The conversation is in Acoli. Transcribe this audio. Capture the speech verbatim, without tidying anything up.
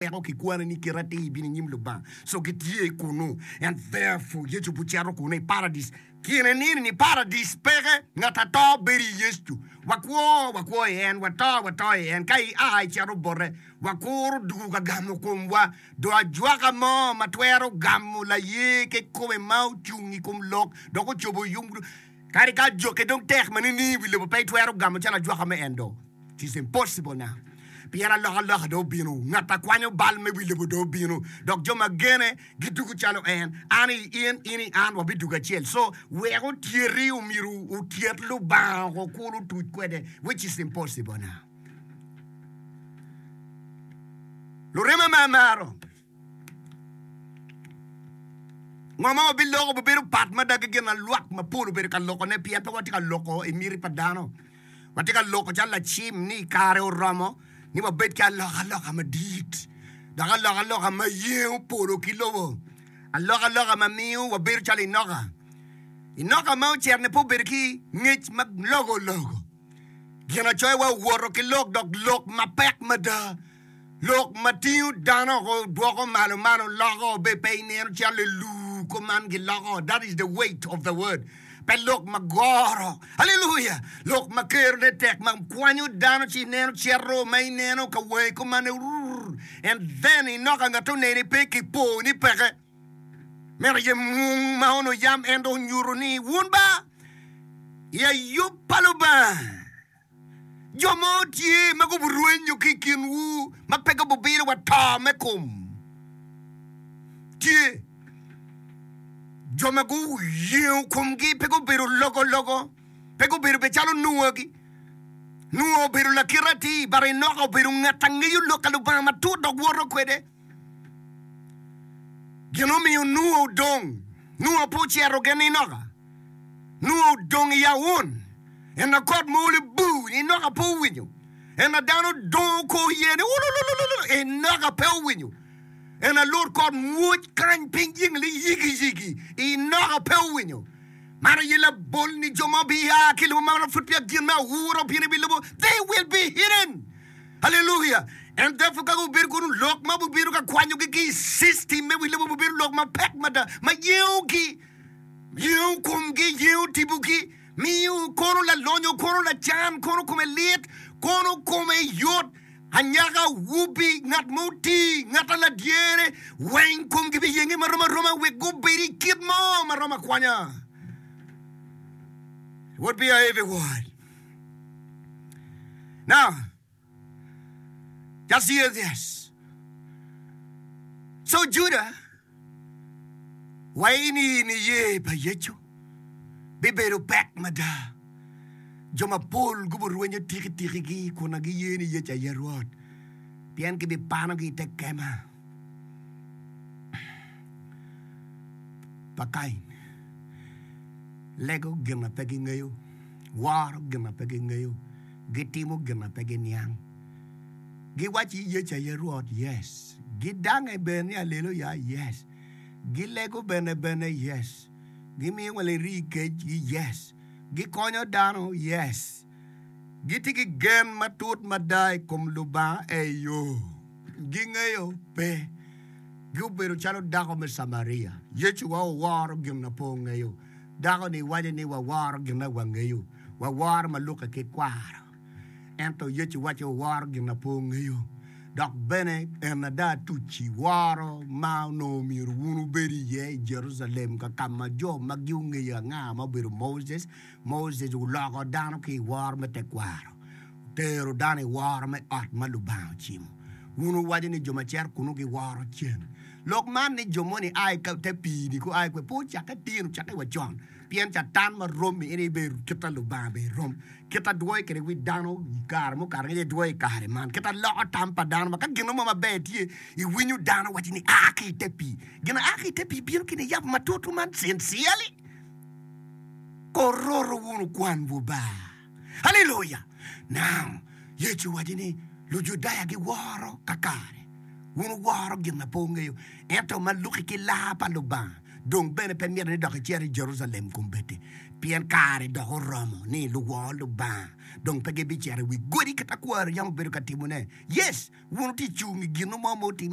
Weko kikwane ni kite atir bino i nyim Lubanga. So gitye kunnu. And therefore Yecu bucito kunnu i Paradis. Kine nini ni Paradis peke. Ngat ato bedo i Yecu. Wakwo, wakwo i en. Wato, wato i en. Ka ia icito bote, wakuro dugu ka gamo komwa. Do ajwaka mo ma twero gamo laye kikome ma ocung i kom lok dok ocobo yub. Kadi ka ajokke dong tek ma nining i wi lobo pe itwero gamo calo ajwaka me en do. It is impossible now. Pien alokaloka dong obino, ngat a kwanyo bal me wi lobo dong obino, dok jo ma gene gidugo calo en. An i in, in i an, wabidugo acel. So, wek otyeti, omyero otyet Lubanga oko kulu otuc kwede, which is impossible now. Lurema ma amaro. Ngo ma wabiloko bibedo pat mada ki gin ma lwak mapol obedo ka lokone pien pe watye ka loko i miti pa dano. Watye ka loko calo lacim ni kare oromo ni wabed ki alokaloka madit dok alokaloka ma yengo polo ki lobo, alokaloka ma miyo wabedo calo Enoka. Enoka ma ocito-ni pe obedo ki ngec ma logo logo. Ginacoya owoto ki lok dok lok mapek mada. Lok ma tingo dano oko dwoko malo malo loko be pe ineno calo luu kuman giloko that is the weight of the word pe lok ma goro hallelujah lok ma kerone tek ma kwanyo dano ci ineno cito ma ineno ka wangi kuman rrr and then inoka ngat oneni pe ki po ni peke meno aye mung ma onongo yam en dong onyuto ni wun ba i ayub pa Lubanga. Jo mo tye ma guburwenyo ki i kinwu ma pe gububilo wa to me kom. Tye jo ma guyengo komgi pe gubedo logologo, pe gubedo bene calo Nuagi. Nua obedo lakite atir, but Enoka obedo ngat a ngeyo lok pa Lubanga matut dok woto kwede. Gin omiyo Nua odong. Nua pe ocito gin Enoka. Nua odong i aun. En a kot ma olo bur, Enoka pe owinyo. En a dano dongo kor iye ni ululululu, Enoka pe owinyo. En a lut kot mwoc kany piny yengli yigiyigi, Enoka pe owinyo. Man aye labol ni jo ma bia ki i lobo ma pud peya gin me aura obino i wi lobo, they will be hidden. Haleluya! And therefore ka gubedo kunu, lok ma gubedo ka kwanyogi ki i system me wi lobo gubedo lok mapek mada ma yengogi, yengo komgi, yengo tipogi. Miyo kono lalonyo, kono lacan, kono kome lit, kono kome yot, anyaka, awobi, ngat ma oti, ngat a ladyere, weng komgi biyenge marom aroma wek gubed i kit mo ma romo akwanya. It would be a heavy word. Now, Just hear this. So Juda, wa ini niye pa Yecu bibedo pek mada. Jo mapol guburwenyo tikitikigi kun giye ni Yecu aye Rwot, pien gibipanogi i te kema pa Kain. Lego gin ma pe gingeyo, woro gin ma pe gingeyo. Gitimo gin ma pe giniang. Giwacci Yecu aye Rwot? Yes. Gidange bene ni Aleluya? Yes. Gilego bene bene? Yes. Gimiyo wa lirii kecgi? Yes. Gikonyo dano? Yes. Gitye ki gen matut mada i kom Lubanga? Eyo. Gingeyo? Pe. Gubedo calo dako me Camaria. Yecu wa oworo gin ma pe ongeyo. Dako-ni waco ni waworo gin ma wangeyo. Waworo ma lukke ki kwaro. Ento Yecu wacci waworo gin ma pe wungeyo. Dok bene en ada tucci woro ma onongo myero wun wubed iye i Jerucalem, ka ka ma jo ma gungeyo anga ma obedo Moses. Moses oloko dano ki i woro me tekwaro, otero dano i woro me ot ma Lubanga ocimo. Wun wuwaco ni jo ma cito kunnu giworo cen. Lok man ni jo moni a i te pii-ni gua kwede pe ocakke tin, ocakke wa con. Pien Catan ma rommi en aye bedo kit a Lubanga bene rom. Kit a dwoyo kwede wi dano i kare mukato angec aye dwoyo i kare man. Kit a loko tam pa dano ma ka gin mo maber tye, iwinyo dano waco ni a ki i te pii. Gin a ki i te pii bino ki niyabo matut man sincerely. Kororo wunu kwanwu ba. Haleluya! Now, Yecu owaco ni Lujudaya giworo kakare. Wun wuworo gin ma pe wungeyo, ento ma luki ki laa pa Lubanga. Dong bene pe mitte ni dok icit i Jerucalem kombeddi, pien kare dok oromo ni luwor Lubanga dong pe gibicito i wi godi kit ma kwaro yam obedo ka timone. Yes, wun wutye ka cung i gin mo ma otimme.